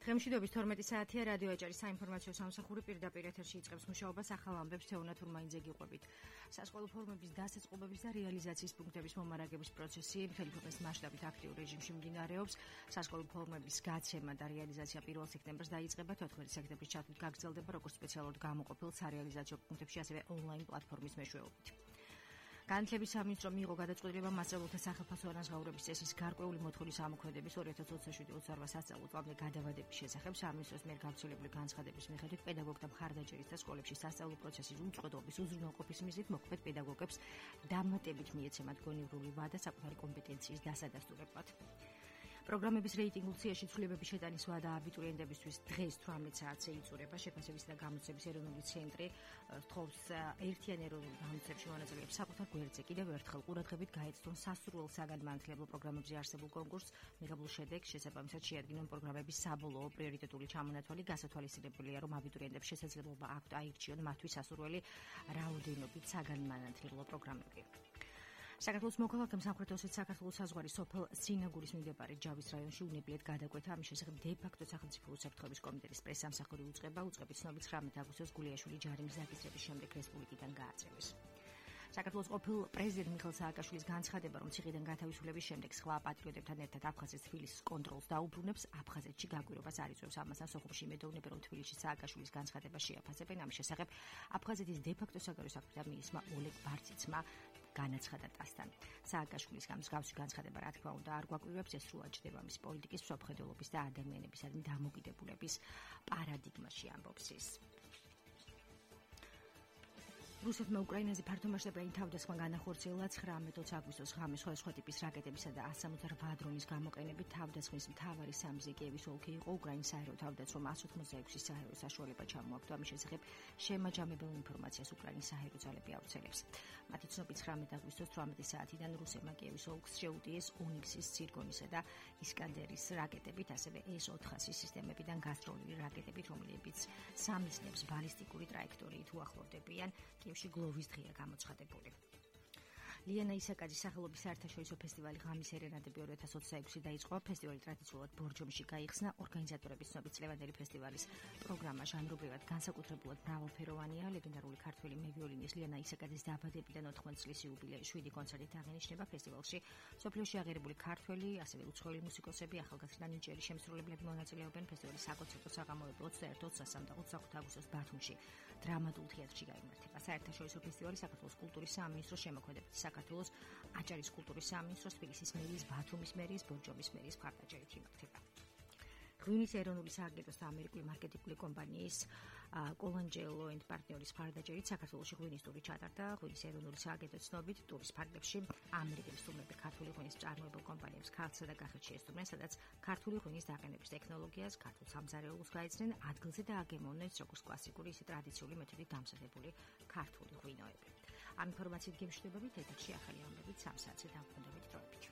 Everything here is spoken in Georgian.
დღემშვიდობის 12 საათია რადიო ეჭერის საინფორმაციო სამსახური პირდაპირ ეთერში იწყებს მუშაობას ახალ ამბებს თეონათ ურმაინძე გიყვებით. სასკოლო ფორმების დასაწყობების და რეალიზაციის პუნქტების მომარაგების პროცესი მთელი ქვეყნის მასშტაბით აქტიურ რეჟიმში მიმდინარეობს. სასკოლო ფორმების გაცემა და რეალიზაცია 1 სექტემბერს დაიწყება, 14 სექტემბრის ჩათვლით გაგრძელდება როგორც სპეციალურად გამოყოფილ სარეალიზაციო პუნქტებში, ასევე ონლაინ პლატფორმის მეშვეობით. განათლების სამინისტრო მიიღო გადაწყვეტილება მასწავლებლთა სახელფასო ანაზღაურების წესის გარკვეული მოთხოვნის ამოქმედების 2027-28 სასწავლო წლამდე გადავადების შესახებ სამინისტროს მიერ გავრცელებული განცხადების მიხედვით პედაგოგთა მხარდაჭერის და სკოლებში სასწავლო პროცესის უწყვეტობის უზრუნველყოფის მიზნით მოქმედ პედაგოგებს დამატებით მიეცემათ გონივრული ვადა საკუთარი კომპეტენციის დასადასტურებლად. პროგრამების რეიტინგულ სიაში ცვლილებების შეტანის ვადა აბიტურიენტებისთვის დღეს 18 საათზე იწურება. შეფასებისა და გამოცდების ეროვნული ცენტრი თხოვს ერთიან ეროვნულ გამოცდებში მონაწილეებს საკუთარ გვერდზე კიდევ ერთხელ ყურადღებით გაეცნონ სასურველ საგანმანათლებლო პროგრამებზე არსებულ კონკურსს. მიღებულ შედეგს შესაბამისად შეადგინონ პროგრამების საბოლოო პრიორიტეტული ჩამონათვალი. გასათვალისწინებელია, რომ აბიტურიენტებს შესაძლებლობა აქვთ აირჩიონ მათთვის სასურველი რაოდენობით საგანმანათლებლო პროგრამები. საქართველოს მოქალაქემ სამხრეთ ოსეთის საქართველოს საზღვარი სოფელ სინაგურის მიმდებარე ჯავის რაიონში უნებლიეთ გადაკვეთა. ამის შესახებ დე-ფაქტო სახელმწიფო უსაფრთხოების კომიტეტის პრესსამსახური უწყება. უწყების ცნობით 19 აგვისტოს გულიაშვილი ჯარიმის დაგისრების შემდეგ რესპუბლიკიდან გააწევეს. საქართველოს ყოფილ პრეზიდენტ მიხეილ სააკაშვილის განცხადება, რომ ციხიდან გათავისუფლების შემდეგ სხვა პატრიოტებთან ერთად აფხაზეთის თბილისის კონტროლს დაუბრუნებს, აფხაზეთში გაკვირვებას არ იწვევს. ამასთან სოხუმში იმედოვნებენ, რომ თბილისში სააკაშვილის განცხადება შეაფასებენ. ამის შესახებ აფხაზეთის დე-ფაქტო საგარეო საქმეთა მინისტრმა ოლეგ ბარციცმა განაცხადა ტასთან. სააკაშვილის მსგავსი განცხადება, რა თქმა უნდა, არ გვაკვირვებს, ეს სრულად ჯდება მის პოლიტიკის, მსოფლმხედველობის და ადამიანებისადმი დამოკიდებულების პარადიგმაში, ამბობს ის. რუსეთმა უკრაინაზე ფართომასშტაბიანი თავდასხმა განახორციელა 19 აგვისტოს ღამე სხვადასხვა ტიპის რაკეტებისა და 168 დრონის გამოყენებით. თავდასხმის მთავარი სამიზნე კიევის ოლქი იყო. უკრაინის საერო თავდაცვამ 186 საერო საშუალება ჩამოაგდო. ამის შესახებ შემაჯამებელ ინფორმაციას უკრაინის საერო ძალები ავრცელებს. მათი ცნობით 19 აგვისტოს 18 საათიდან რუსებმა კიევის ოლქს შეუტიეს ონიქსის, ცირგონისა და ისკანდერის რაკეტებით, ასევე S-400 სისტემებიდან გასროლილი რაკეტებით, რომლებიც სამიზნებს ბალისტიკური ტრაექტორიით უახლოვდებიან. კიევში გლოვის დღეა გამოცხადებული. ლიანა ისაკაძის სახელობის საერთაშორისო ფესტივალი ღამის ერენადები 2026 დაიწყო. ფესტივალი ტრადიციულად ბორჯომში გაიხსნა. ორგანიზატორების ცნობით წლევანდელი ფესტივალის პროგრამა ჟანრობრივად განსაკუთრებულად მრავალფეროვანია. ლეგენდარული ქართველი მევიოლინის ლიანა ისაკაძის დაბადებიდან 80 წლის იუბილეის 7 კონცერტით აღინიშნება. ფესტივალში სოფლიოში აღიარებული ქართველი, ასევე უცხოელი მუსიკოსები, ახალგაზრდა ნიჭიერი შემსრულებლები მონაწილეობენ. ფესტივალის საკონცერტო საღამოები 21-25 და 28 აგვისტოს ბათუმში დრამატულ თეატრში გაიმართება. საერთაშორისო ფესტივალი საქართველოს კულტურის სამინისტროს შემოქმედებით საქართველოს აჭარის კულტურის სამინისტროს, თბილისის მერიის, ბათუმის მერიის, ბორჯომის მერიის მხარდაჭერით იმართება. ღვინის ეროვნული სააგენტოს და ამერიკული მარკეტინგული კომპანიის კოლანჯელო ენდ პარტნიორის მხარდაჭერით საქართველოში ღვინის ტური ჩატარდა. ღვინის ეროვნული სააგენტოს ცნობით ტურის ფარგლებში ამერიკელი სტუმრები ქართული ღვინის წარმოებულ კომპანიებს ქართლსა და კახეთში ესტუმრნენ, სადაც ქართული ღვინის დაყენების ტექნოლოგიას, ქართულ სამზარეულოს გაეცნენ, ადგილზე და აგემოვნეს როგორც კლასიკური, ისე ტრადიციული მეთოდით დამზადებული ქართული ღვინოები. ამ ინფორმაციით გემშვიდობებით ეთერში ახალი ამბებით 3 საათზე დაბრუნდებით დროებით.